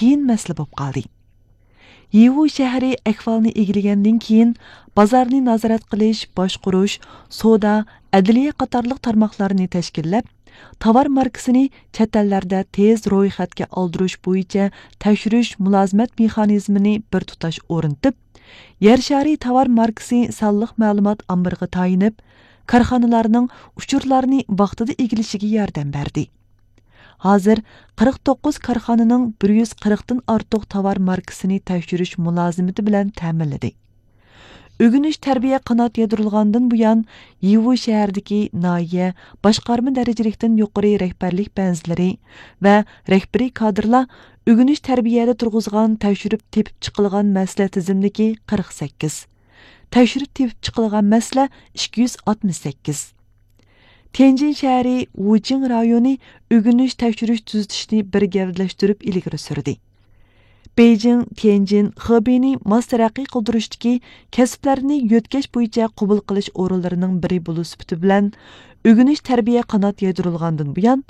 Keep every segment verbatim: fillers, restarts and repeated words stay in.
قىيىن مەسىلە بولۇپ قالدى. يىۋۇ شەھىرى ئەھۋالنى ئىگىلىگەندىن كېيىن، بازارنى نازارەت قىلىش، باشقۇرۇش، سودا، ئەدلىيە قاتارلىق تارماقلارنى تەشكىللەپ، تاۋار ماركىسىنى چەت ئەللەردە تېز رويخەتكە ئالدۇرۇش بويىچە تەكشۈرۈش مۇلازىمەت مېخانىزمىنى بىر تۇتاش ئورنىتىپ، يەر شارى تاۋار ماركىسى سانلىق مەلۇمات ئامبىرىغا تايىنىپ، كارخانىلارنىڭ ئۇچۇرلارنى ۋاقتىدا ئىگىلىشىگە ياردەم بەردى. ھازىر قىرىق توققۇز كارخانىنىڭ بىر يۈز قىرىقتىن ئارتۇق تاۋار ماركىسىنى تەكشۈرۈش مۇلازىمىتى بىلەن تەمىنلىدى. ئۆگىنىش تەربىيە قانات يايدۇرۇلغاندىن بۇيان، يىۋۇ شەھىرىدىكى ناھىيە، باشقارما دەرىجىلىكتىن يۇقىرى رەھبەرلىك بەنزىلىرى ۋە رەھبىرىي كادىرلار ئۆگىنىش تەربىيەدە تۇرغۇزغان تەكشۈرۈپ تېپىپ چىقىلغان مەسىلە تىزىملىكى قىرىق سەككىز، تەكشۈرۈپ تېپىپ چىقىلغان مەسىلە ئىككى يۈز ئاتمىش سەككىز. تيەنجىن شەھىرى ۋۇچىڭ رايونى ئۆگىنىش، تەكشۈرۈش، تۈزىتىشنى بىر گەۋدىلەشتۈرۈپ ئىلگىرى سۈردى. بېيجىڭ، تيەنجىن، خېبېينى ماس تەرەققىي قىلدۇرۇشتىكى كەسىپلەرنى يۆتكەش بويىچە قوبۇل قىلىش ئورۇنلىرىنىڭ بىرى بولۇش سۈپىتى بىلەن، ئۆگىنىش تەربىيە قانات يايدۇرۇلغاندىن بۇيان،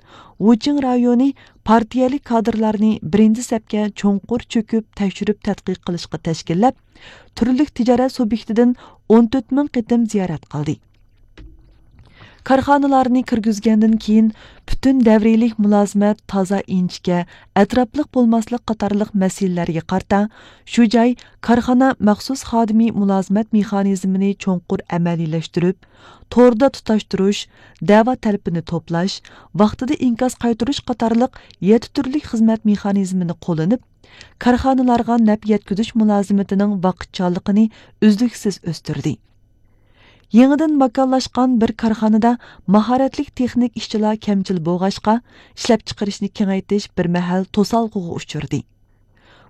ۋۇچىڭ رايونى پارتىيەلىك كادىرلارنى بىرىنچى سەپكە چوڭقۇر چۆكۈپ تەكشۈرۈپ تەتقىق قىلىشقا تەشكىللەپ، تۈرلۈك تىجارەت سۇبيېكتىدىن ئون تۆت مىڭ قېتىم زىيارەت قىلدى. كارخانىلارنى كىرگۈزگەندىن كېيىن، پۈتۈن دەۋرىيلىك مۇلازىمەت، تازا ئىنچىكە، ئەتراپلىق بولماسلىق قاتارلىق مەسىلىلەرگە قارىتا، شۇ جاي، كارخانا مەخسۇس خادىمى مۇلازىمەت مېخانىزمىنى چوڭقۇر ئەمەلىيلەشتۈرۈپ، توردا تۇتاشتۇرۇش، دەۋا تەلىپىنى توپلاش، ۋاقتىدا ئىنكاس قايتۇرۇش قاتارلىق يەتتە تۈرلۈك خىزمەت مېخانىزمىنى قوللىنىپ، كارخانىلارغا نەپ يەتكۈزۈش مۇلازىمىتىنىڭ ۋاقىتچانلىقىنى ئۈزلۈكسىز ئۆستۈردى. يېڭىدىن ماكانلاشقان بىر كارخانىدا ماھارەتلىك تېخنىك ئىشچىلار كەمچىل بولغاچقا، ئىشلەپچىقىرىشنى كېڭەيتىش بىر مەھەل توسالغۇغا ئۇچرىدى.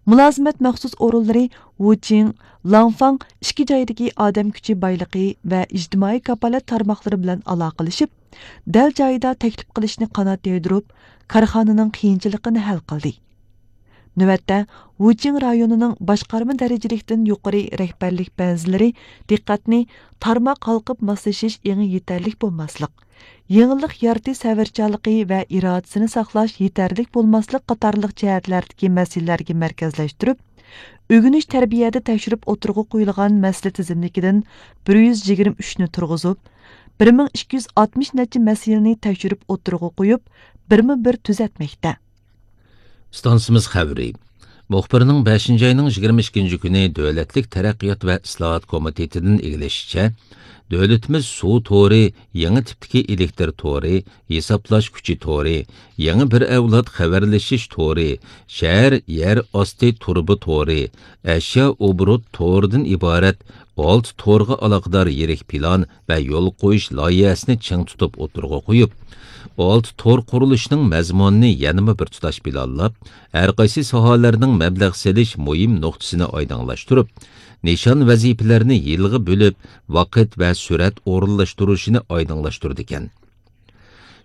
مۇلازىمەت مەخسۇس ئورۇنلىرى ۋۇچىڭ، لاڭفاڭ ئىككى جايدىكى ئادەم كۈچى بايلىقى ۋە ئىجتىمائىي كاپالەت تارماقلىرى بىلەن ئالاقىلىشىپ، دەل جايىدا تەكلىپ قىلىشنى قانات يايدۇرۇپ، كارخانىنىڭ قىيىنچىلىقىنى ھەل قىلدى. نۆۋەتتە، ۋۇچىڭ رايونىنىڭ باشقارما دەرىجىلىكتىن يۇقىرى رەھبەرلىك بەنزىلىرى دىققەتنى تارماق ھالقىپ ماسلىشىش ئېڭى يېتەرلىك بولماسلىق، يېڭىلىق يارىتىش سەۋرچانلىقى ۋە ئىرادىسىنى ساقلاش يېتەرلىك بولماسلىق قاتارلىق جەھەتلەردىكى مەسىلىلەرگە مەركەزلەشتۈرۈپ، ئۆگىنىش تەربىيەدە تەكشۈرۈپ ئوتتۇرىغا قويۇلغان مەسىلە تىزىملىكىدىن بىر يۈز يىگىرمە ئۈچنى تۇرغۇزۇپ، بىر مىڭ ئىككى يۈز ئاتمىش نەچچە مەسىلىنى تەكشۈرۈپ ئوتتۇرىغا قويۇپ، بىرمۇ بىر تۈزەتمەكتە. ئىستانسىمىز خەۋىرى. مۇخبىرنىڭ بەشىنچى ئاينىڭ يىگىرمە ئىككىنچى كۈنى دۆلەتلىك تەرەققىيات ۋە ئىسلاھات كومىتېتىدىن ئىگىلىشىچە، دۆلىتىمىز سۇ تورى، يېڭى تىپتىكى ئېلېكتر تورى، ھېسابلاش كۈچى تورى، يېڭى بىر ئەۋلاد خەۋەرلىشىش تورى، شەھەر يەر ئاستى تۇرۇبا تورى، ئەشيا ئوبوروت تورىدىن ئىبارەت ئالتە تورغا ئالاقىدار يىرىك پىلان ۋە يول قويۇش لايىھەسىنى چىڭ تۇتۇپ ئوتتۇرىغا قويۇپ، ئالتە تور قۇرۇلۇشىنىڭ مەزمۇنىنى يەنىمۇ بىر تۇتاش پىلانلاپ، ھەرقايسى ساھەلەرنىڭ مەبلەغ سېلىش مۇھىم نۇقتىسىنى ئايدىڭلاشتۇرۇپ، نىشان ۋەزىپىلەرنى يىلغا بۆلۈپ، ۋاقىت ۋە سۈرئەت ئورۇنلاشتۇرۇشىنى ئايدىڭلاشتۇرىدىكەن.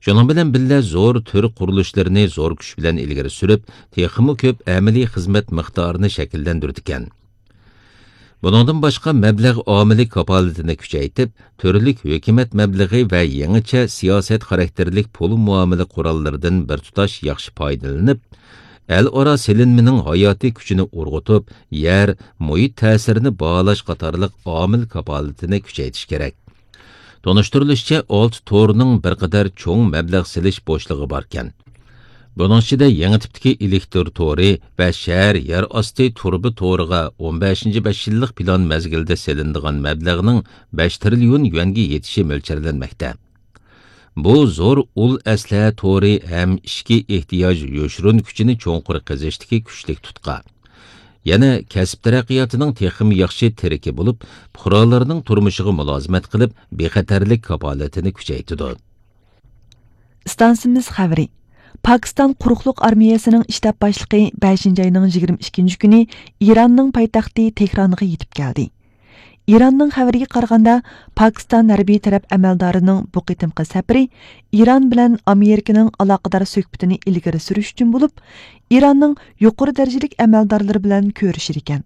شۇنىڭ بىلەن بىللە، زور تۈر قۇرۇلۇشلىرىنى زور كۈچ بىلەن ئىلگىرى سۈرۈپ، تېخىمۇ كۆپ ئەمەلىي خىزمەت مىقدارىنى شەكىللەندۈرىدىكەن. بۇنىڭدىن باشقا، مەبلەغ ئامىلى كاپالىتىنى كۈچەيتىپ، تۈرلۈك ھۆكۈمەت مەبلىغى ۋە يېڭىچە سىياسەت خاراكتېرلىك پۇل مۇئامىلە قوراللىرىدىن بىر تۇتاش ياخشى پايدىلىنىپ، ئەل ئارا سېلىنمىنىڭ ھاياتىي كۈچىنى ئۇرغۇتۇپ، يەر، مۇھىت تەسىرىنى باھالاش قاتارلىق ئامىل كاپالىتىنى كۈچەيتىش كېرەك. تونۇشتۇرۇلۇشىچە، ئالتە تورنىڭ بىر قەدەر چوڭ مەبلەغ سېلىش بوشلۇقى باركەن. بۇنىڭ ئىچىدە يېڭى تىپتىكى ئېلېكتر تورى ۋە شەھەر يەر ئاستى تۇرۇبا تورىغا ئون بەشىنچى بەش يىللىق پىلان مەزگىلىدە سېلىنىدىغان مەبلەغنىڭ بەش تىرىليون يۈەنگە يېتىشى مۆلچەرلەنمەكتە. بۇ زور ئۇل ئەسلىھە تورى ھەم ئىچكى ئېھتىياج يوشۇرۇن كۈچىنى چوڭقۇر قېزىشتىكى كۈچلۈك تۇتقا. يەنە كەسىپ تەرەققىياتىنىڭ تېخىمۇ ياخشى تىرىكى بولۇپ، پۇقرالارنىڭ تۇرمۇشىغا مۇلازىمەت قىلىپ، بىخەتەرلىك كاپالىتىنى كۈچەيتىدۇ. ئىستانسىمىز خەۋىرى. پاكىستان قۇرۇقلۇق ئارمىيەسىنىڭ شتاب باشلىقى بەشىنچى ئاينىڭ يىگىرمە ئىككىنچى كۈنى ئىراننىڭ پايتەختى تېھرانغا يېتىپ كەلدى. ئىراننىڭ خەۋىرىگە قارىغاندا، پاكىستان ھەربىي تەرەپ ئەمەلدارىنىڭ بۇ قېتىمقى سەپىرى ئىران بىلەن ئامېرىكىنىڭ ئالاقىدار سۆھبىتىنى ئىلگىرى سۈرۈش ئۈچۈن بولۇپ، ئىراننىڭ يۇقىرى دەرىجىلىك ئەمەلدارلىرى بىلەن كۆرۈشىدىكەن.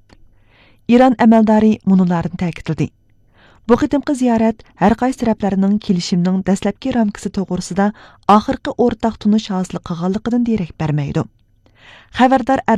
ئىران ئەمەلدارى مۇنۇلارنى تەكىتلىدى. بۇ قېتىمقى زىيارەت ھەر قايسى تەرەپلەرنىڭ كېلىشىمنىڭ دەسلەپكى رامكىسى توغرىسىدا ئاخىرقى ئورتاق تونۇش ھاسىل قىلغانلىقىدىن دېرەك بەرمەيدۇ. خەۋەردار